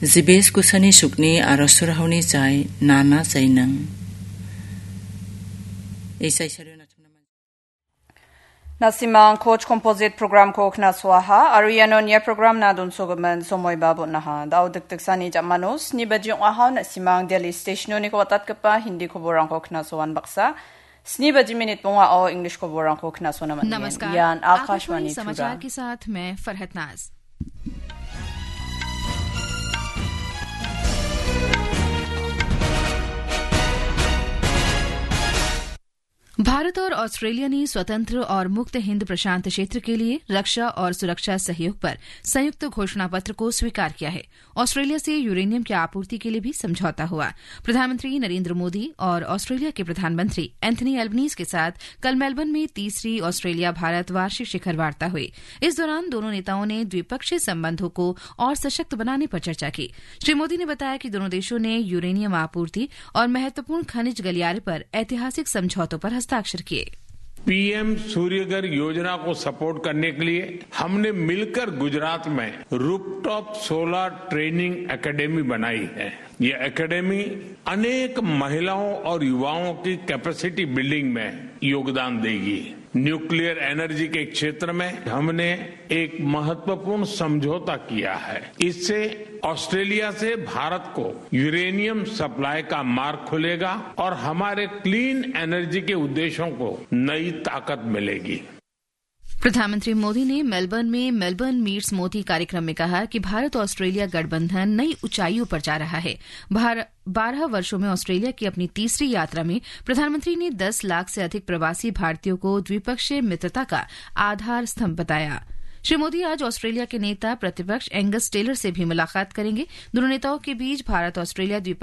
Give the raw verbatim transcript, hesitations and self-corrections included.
Jibes kusani sukni aro surahoni jai nana jainang. Isai sario natumna man- Nasimang Coach Composite Program ko knasoaha, aro iano nia program na donsogimin somoi ba bon·aha. Dao dikdiksani jamano sni baji ong·aha, nasimang Delhi Station-oni ko watatgipa Hindi koborangko knasoan baksa. Sni baji minit bongao English koborangko knasona man·gen. नमस्कार, Ian Akashvani Akashvani Tripura. समाचार के साथ मैं फरहत नाज। भारत और ऑस्ट्रेलिया ने स्वतंत्र और मुक्त हिंद प्रशांत क्षेत्र के लिए रक्षा और सुरक्षा सहयोग पर संयुक्त घोषणा पत्र को स्वीकार किया है। ऑस्ट्रेलिया से यूरेनियम की आपूर्ति के लिए भी समझौता हुआ। प्रधानमंत्री नरेंद्र मोदी और ऑस्ट्रेलिया के प्रधानमंत्री एंथनी अल्बनीज के साथ कल मेलबर्न में तीसरी ऑस्ट्रेलिया भारत वार्षिक शिखर वार्ता हुई। इस दौरान दोनों नेताओं ने द्विपक्षीय संबंधों को और सशक्त बनाने पर चर्चा की। श्री मोदी ने बताया कि दोनों देशों ने यूरेनियम आपूर्ति और महत्वपूर्ण खनिज गलियारे पर ऐतिहासिक समझौतों पर हस्ताक्षर किए। पीएम सूर्यघर योजना को सपोर्ट करने के लिए हमने मिलकर गुजरात में रूफटॉप सोलर ट्रेनिंग एकेडमी बनाई है। ये एकेडमी अनेक महिलाओं और युवाओं की कैपेसिटी बिल्डिंग में योगदान देगी। न्यूक्लियर एनर्जी के क्षेत्र में हमने एक महत्वपूर्ण समझौता किया है। इससे ऑस्ट्रेलिया से भारत को यूरेनियम सप्लाई का मार्ग खुलेगा और हमारे क्लीन एनर्जी के उद्देश्यों को नई ताकत मिलेगी। प्रधानमंत्री मोदी ने मेलबर्न में मेलबर्न मीट्स मोदी कार्यक्रम में कहा कि भारत ऑस्ट्रेलिया गठबंधन नई ऊंचाइयों पर जा रहा है। भार-, बारह वर्षों में ऑस्ट्रेलिया की अपनी तीसरी यात्रा में प्रधानमंत्री ने दस लाख से अधिक प्रवासी भारतीयों को द्विपक्षीय मित्रता का आधार स्तंभ बताया। श्री मोदी आज ऑस्ट्रेलिया के नेता प्रतिपक्ष एंगस टेलर से भी मुलाकात करेंगे। दोनों नेताओं के बीच भारत ऑस्ट्रेलिया द्विपक्षीय